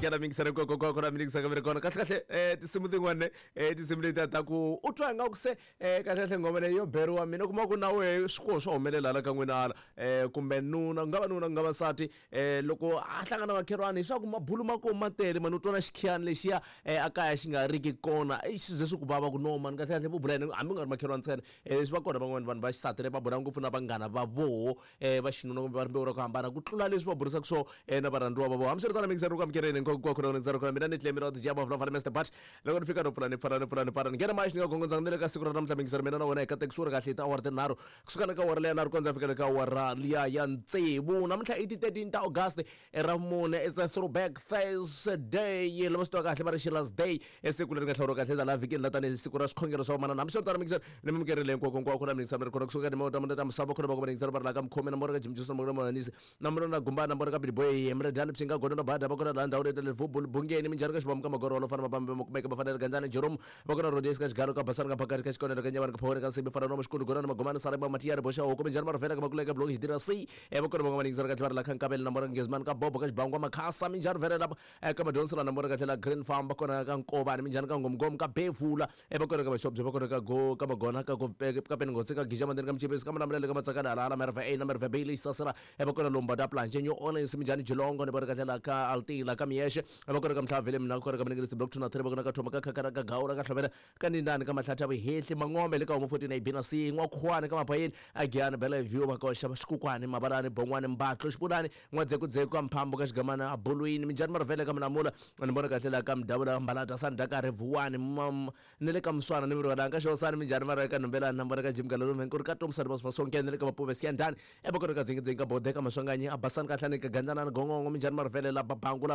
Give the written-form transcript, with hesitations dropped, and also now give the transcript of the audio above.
Amukela mingisana ko ko ko na mingisaka mi ri kona kahle kahle tinsimu tin'wana tinsimu letiya ta ku u twa ingaku se kahle kahle nghoma leyi yo beriwa mina u kuma ku na wehe swi swo humelela hala ka n'wina hala kumbe nuna ku nga va nuna ku nga va nsati loko a hlangana na makhelwani hiswaku mabulu ma kona ma tele mani u twa na xikhiyani lexiya a kaya xi nga riki kona xi ze swi ku vava ku no mani kahle kahle vo bula yini hambi ku nga ri makhelwani ntsena swi va kona van'wani vanhu va xisati va bula ngopfu na vanghana va voho va xinuna kumbe va rimbewu ra ku hambana ku tlula leswi va burisaka swo na varhandziwa va vona. Hambiswiritano mingiseri ku amukeleni hinkwako na ndzi ri kona mina ni Clemmy ra DJ Above Love Mr But loko ni fika no pfula ni pfala ni pfula ni pfala ni nghena maxi ni nga gongondzanga ni le ka siku ra namuntlha mingiseri mina na wena hi katekisiwe ri kahle hi tiawara tinharhu kusuka le ka awara leya nharhu kondza fika le ka awara liya ya tsevu namuntlha i ti 13 ta August ra mune it's a throwback Thursday lava swi tiva kahle va ri Sheila's Day i siku leri nga hlawuriwa kahle la vhikini la tanihi siku ra swikhongelo swa vamanana hambiswiritano mingiseri ni mi hinkwako hinkwako na mingiseri mi ri kona kusuka ka timhaka ta ta misava khona va ku mingiseri va ri la ka mukhomi na mbona ka Jim Johnson na mbona Manisi na mbona na Gumbana na mbona ka Billy Boy Mredani Pshinga Gono na Bada va kona laha ndhawu leyi Liverpool Bungeni minjhani ka xibamu ka magorolo fana mapambe ma kumeka va fanele Gandzani Jerome va kona Rhodes ka xigalo ka Basani ka Phakati ka Xikonelo ka Nyavani ka Phawoni ka Nsimbi fana no Xikundu Gonani Magomani Sarema Matiyani Boxa Hoko minjhani Marivela ka Makuleka Block Xidira C va kona van'wana mingiseri ka tlhela la ka Nkavelo na mbona Ngezimani ka Bobo ka Xibangwa Makhasa minjhani Vhele la ka Madonsela na mbona ka tlhela Green Farm va kona ka Nkovani minjhani ka Ngomngom ka Bevula va kona ka Maxobye va kona ka Go ka Magona ka ka Peningotse ka Gija Mandeni ka Mchipisi ka Malamulele ka Matsakana Halala Merve A na Merve B leyi Sasela va kona Lomba Planje New Orleans minjhani Jilongo ni vona ka tlhela ka Altila ka Miyexe va kona ka Mhlavele mina kona ka Mningelisi Block 2 na 3 va kona ka Thoma ka Khakana ka Gawula ka Hlomela ka Nindani ka Mahlathi ya Vuhehli Mangombe le ka Homo 14 A B na C N'wakhuwani ka Mapayeni Agiyani Bellevue Makoxa Xikukwani Mabalani Bon'wani Mbatlo Xipulani N'wadzekudzeku ka Mphambo ka Xigamana Bulwini Minjhani Marivele ka Mulamula ni vona kahle la ka Mudavula Mbalata Sandakare Vuwani ni le ka Muswana ni Murivalanga ka Xosani Minjhani Mara ka Nhumbelani na vona ka Jim Galalume ku ri ka Tomsani va Sonke ni le ka Mapuve Siyandhani eVokweni ka Dzingidzingi ka Bode ka Maswanganyi a Basani ka Hlani ka Gandzanani Gongongo Minjhani Marivele la Babangu la.